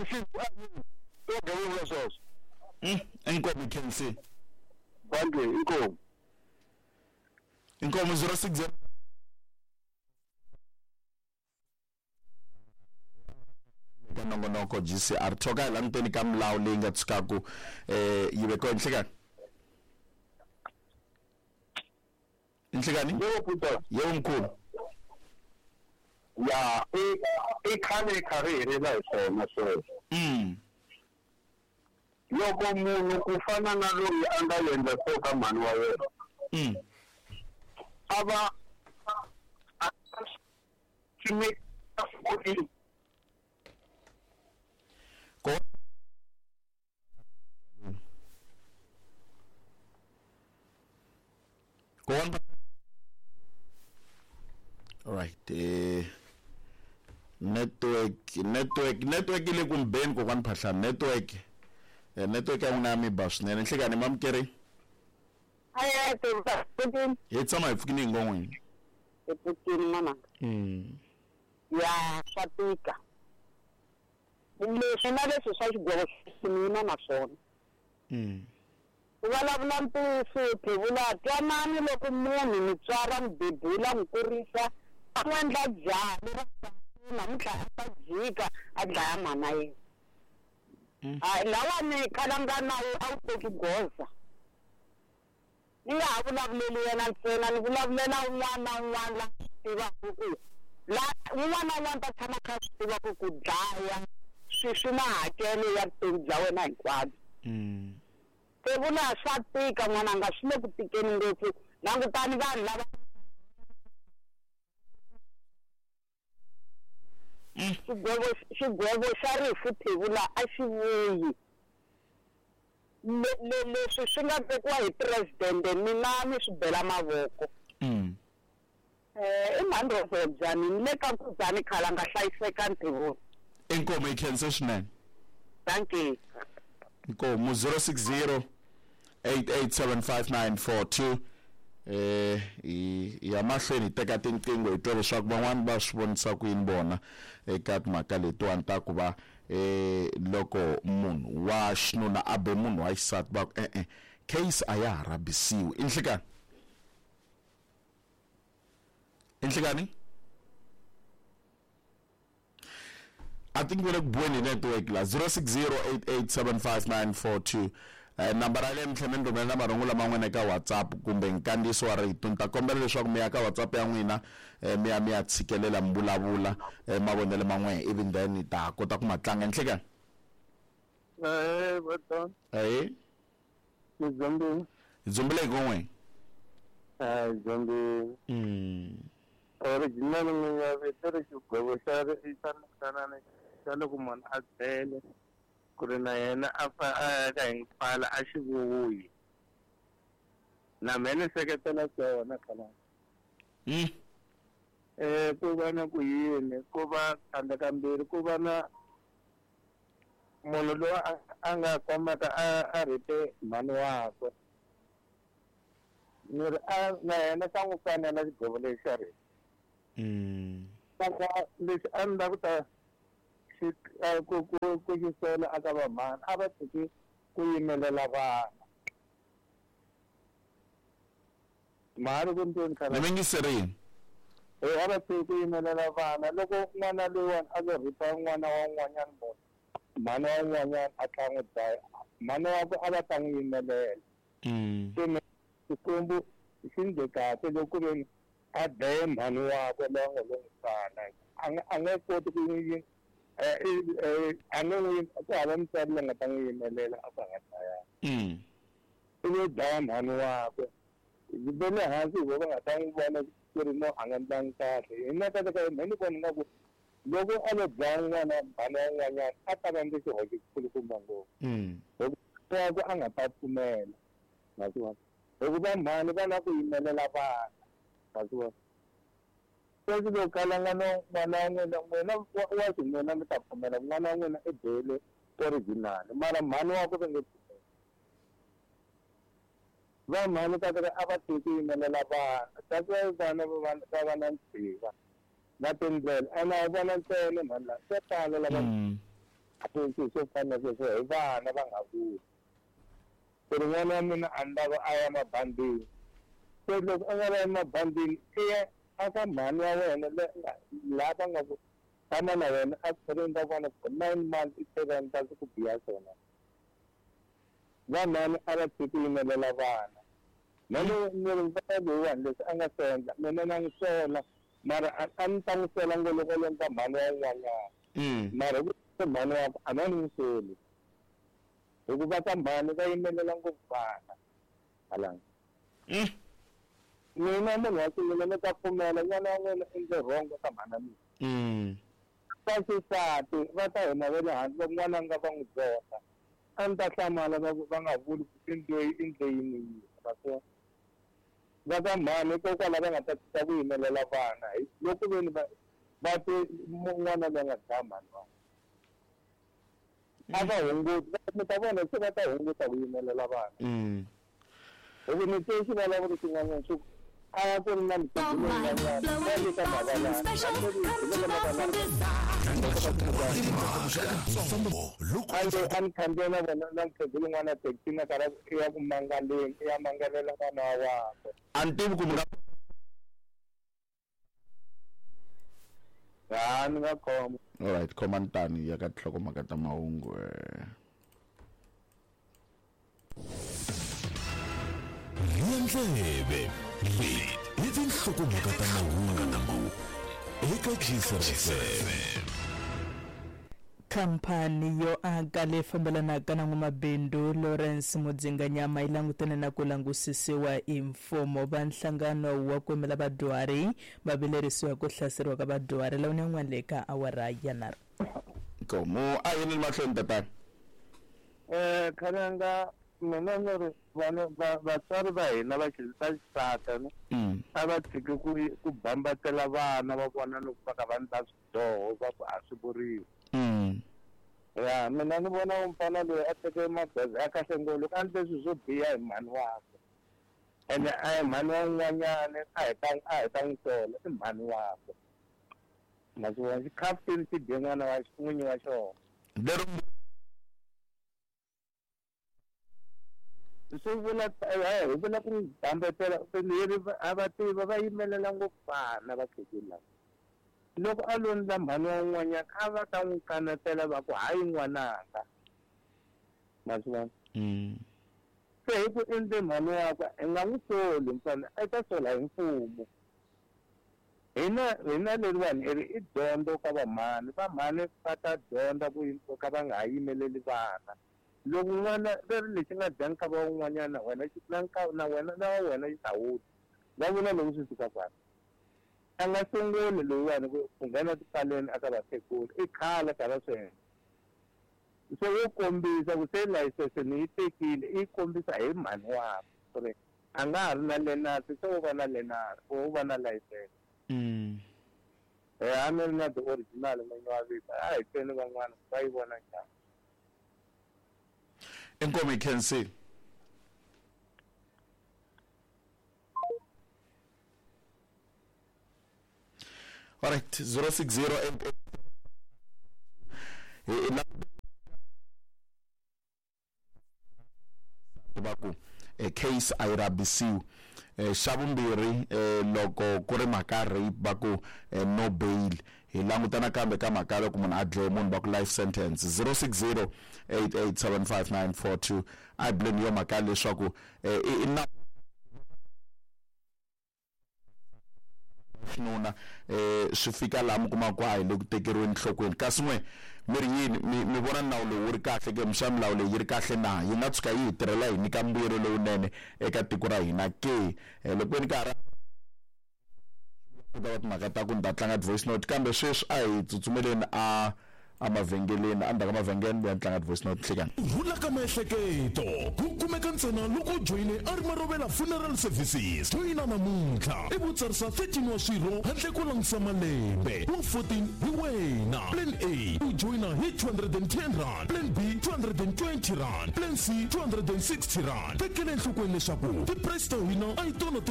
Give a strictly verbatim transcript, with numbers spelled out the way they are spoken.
Vugevenga sweswo. Inkomo K C. Dankie, inkomo. Inkomo zero six zero. Ka nongonoko G C R thoka hi languteni ka milawu leyi nga tshukaku eh yi vekiwa. Nhlikani, nhlikani. Yebo, Peter. Yebo, mkhulu. Ya, i i khale kha ri helela hi swona sweswo. mm Loko munhu ku fana na loyi a nga endla swo ka mhani wa yena, mm a va a swi koti. Ko go on. All right, eh network network network yi le ku mbeni. Kokwani Phahlani, network eh, network ya n'wina ya mi ba swinene. Nhlikani, mamukeri. Aye, pfukini. Hi tshama hi pfukini hi ngon'wini. Hi pfukini, mama. mm. Ya, swa tika leswi na leswi swa xigwevo xi na swona. Mm. Ku vulavula ntiyiso, phevula twanani, loko munhu mutswari a n'wi bebula, n'wi kurisa, a n'wi endla njhani, namuntlha a ta jika a dlaya mhana yena? Hayi, lawani khalanga nawu a wu teki goza. Ni nga ha vulavuleli yena ntsena, ni vulavulela un'wana na un'wana la swi tivaka ku la un'wana na un'wana ta tshama kha swi tiva ku ku dlaya swi swi na hakelo ya vutomi bya wena hinkwabyo. Mm. Se vula swa tika, n'wananga, swi le ku tikeni ngopfu. Langutani vanhu lava xigwevo xigwevo xa rifu, phevula, a xi vuyi. Le- le- leswi swi nga vekiwa hi presidente, mina ni swi bela mavoko. Mm. um i mhani byani ni le ka Nkudzani, khalanga, hlayiseka, ntirhweni. Inkomo, yi khense swinene. Thank you. Inkomo. zero six zero eight eight seven five nine four two. eh hi ya mahlweni hi teka tinqingho, hi twa leswaku van'wani va swi vonisa ku yini vona eka timhaka letiwani ta ku va eh loko munhu wa xinuna a be munhu wa xisati, va ku e-e, case a ya ha rhabisiwi. I nhlikani, i nhlikani. I think we're ku buweni network la. zero six zero eight eight seven five nine four two, eh nambara ya le mi tlhela mi rhumela marungulo man'wana eka WhatsApp kumbe nkandziyiso wa rito. Ni ta kombela leswaku mi ya ka WhatsApp ya n'wina, eh, mi ya mi ya tshikelela, mi vulavula eh, mavonelo man'we, even then hi ta kota ku ma tlanga. Nhlikani. Eh, bata. Ahe. Ni dzombile. Hi dzombile hi kon'we. Ah, dzombile. mm. Original n'wina vito ri xigwevo xa ri xa xa xa loko munhu a dlele ku ri na yena a fa a ya ka hi pfala a xi vuyi, na mehe ni seketela swona khalanga. Mm. eh ku va na ku yini, ku va tlhandla kambirhi, ku va na munhu loyi a a nga komaka a a rhipe mhani wakwe, ni ri a na yena xa n'wi fanela xigwevo lexi xa rifu. Mm. Saka lexi a ni lava ku ta xi a, ku ku ku xi sola aka vamhani, a va tshiki ku yimelela vana mhani ku ntweni Ni khala. mingiserini. Eh, a va tshiki ku yimelela vana. Loko n'wana loyiwani a lo rhipa n'wana wa un'wanyana munhu, mhani wa un'wanyana a tlha n'wi dlaya, mhani wakwe a va ta n'wi yimelela. mm. Se ni Xikwembu xi ndle kahle loko ku ve a dlaye mhani wakwe loyi a nga lo n'wi tswala, a nga a nga koti ku n'wi eh, eh, a nge n'wi ku hava mutswari loyi nga ta n'wi yimelela a ku a nga dlayanga. Mm. I lo dlaya mhani wakwe, va le hansi hi vo va nga ta n'wi vona ku ri no a nga ndlangi kahle. Hina ka ka hina ni vona nga ku loko a lo dlaya n'wana mhani wa un'wanyana, a ta va ndzi xihoxo xikulukumba ngopfu. Mm. Wakwe a nga ta pfumela, ma swi vona, hikuva mhani va na ku yimelela vana, ma swi vona. Sweswi loko kalanga no n'wana wa n'wina, n'wina wa wa xinuna, mi ta pfumela n'wana wa n'wina i bele original, mara mhani wakwe va nge pfumeli. Va mhani ka a va tiki ku yimelela vana. That's why vana va va va va na ntshiva na tindlela ene a vona ntsena mhani la swo tala lava. Mm. swilo swo fana na sweswo hi vana va nga vuli ku ri n'wana wa mina a ni lava a ya mabandini se loko a nga la emabandini i ya aka mhani wa wena laha va nga ku tshama na wena a khwirini ra vona for nine months i tlhela ni ta ku biha swona vamhani a va tshiki yimelela vana na ni ri mfana loyiwani leswi a nga swi endla mina na n'wi sola mara a ni ta n'wi sola ngo loko lomba mhani wa un'wanyana mara hi ku mhani wakwe a na ni n'wi soli hikuva ka mhani va yimelela ngopfu vana halanga mina munhu wa xinuna ni ta pfumela n'wana wa n'wina endle wrong ka mhana mina va xisati va ta hina va le hansi loko n'wana nga va n'wi zonda a ni ta hlamala va va nga vuli ku i ndle i ndle yini yini va swo va ka mhani hikokwalaho va nga ta tshika ku yimelela vana loko veni va va te n'wana loyi a nga dlaya mhani wa a va hunguti mi ta vona se va ta hunguta ku yimelela vana hi ku ni twe xivulavuri xin'wanyana xi ku a ku ri na a ni khandziya na vona na mukhegulu n'wana taxi na karhi i ya ku mangaleni i ya mangalela n'wana wa wakwe a ni tivi ku mi nga ha ni nga khoma alright khomani tani ya ka tinhlokomhaka ta mahungu Ndlebe leti i tinhlokomhaka ta mahungu eka G S F M. Khampani yo aka leyi fambelanaka na n'wamabindzu Lawrence Mudzinganyama yi langutane na ku langusisiwa hi mfumo. Va nhlangano wa ku yimela vadyuhari va vilerisiwa ku hlaseriwa ka vadyuhari lawa yin'wana le ka awara ya nharhu. Nkomo a yini mahlweni tatana eh khalanga mina ni ri vana vatswari va hina va xisati ne a va tshiki ku ku bambatela vana va vona loko va ka va endla swidyoho va ku a swi vuriwi ya mina ni vona mfana loyi a teke magoza ya kahle ngopfu loko a endle swilo swo biha hi mhani wakwe ene a hi mhani wa un'wanyana a hi ta a hi ta n'wi sola i mhani wakwe ma swi vona xikhafutini xi dye n'wana wa n'winyi wa xona lero swi vula hi vula ku n'wi bambetela leri a va tiva va yimelela ngopfu vana vakhegula lava loko a lo ndla mhani wa un'wanyana a va ta n'wi kanetela va ku hayi n'wananga ma swi vona se hi ku endle mhani wakwe hi nga n'wi soli mfana i ta sola hi mfumo hina hina leriwani i ri i dyondzo ka vamhani vamhani va ta dyondza ku ka va nga ha yimeleli vana loko n'wana leri lexi nga dya nkava wa un'wanyana wena na na wena na wa wena xi ta wu va vula loko swi fika kwala a nga sunguli loyiwani ku ku nghena tipaleni aka vakhegula i khale ka va swi endla se wo kombisa ku se layisense ni yi tekile i kombisa hi mhani wakwe ku ri a nga ha ri na lenasi se wo va na lenasi wo va na layisense a ni ri na the original n'winyi wa vito a hi tweni van'wana va yi vona njhani. Inkomo ikhensi. All right, zero six zero eight eight. Va ku case a yi rabisiwi xa vumbirhi loko ku ri mhaka rape va ku no bail hi languta nakambe ka mhaka loko munhu a dlaye munhu va ku life sentence zero six zero eight eight seven five nine four two a hi buleni yo mhaka leswaku i na xinuna eh swi fika laha mi kuma ku a hi le ku tekeriweni nhlokweni kasi n'we mi ri yini mi mi vona nawu lowu wu ri kahle ke mxa milawu leyi yi ri kahle na yi nga tshuka yi hi tirhela hi nyika mbuyelo lowunene eka tiko ra hina ke loko ni ka ha ri ku ta va timhaka ta ku ni ta tlanga ti-voice note kambe sweswi a hi tsutsumeleni a emavhengeleni endzhaku ka mavhengele ya tlanga ti-voice note nhlekani rhula ka miehleketo ku kumeka ntsena loko u joyine a ri Marovela Funeral Services joyina namuntlha i vutsarisa thirteen wa swirho handle ko langutisa malembe wa fourteen hi wena plan A u joyina hi two hundred and ten rand plan B two hundred and twenty rand plan C two hundred and sixty rand tekela enhlokweni leswaku ti-price ta hina a hi tona to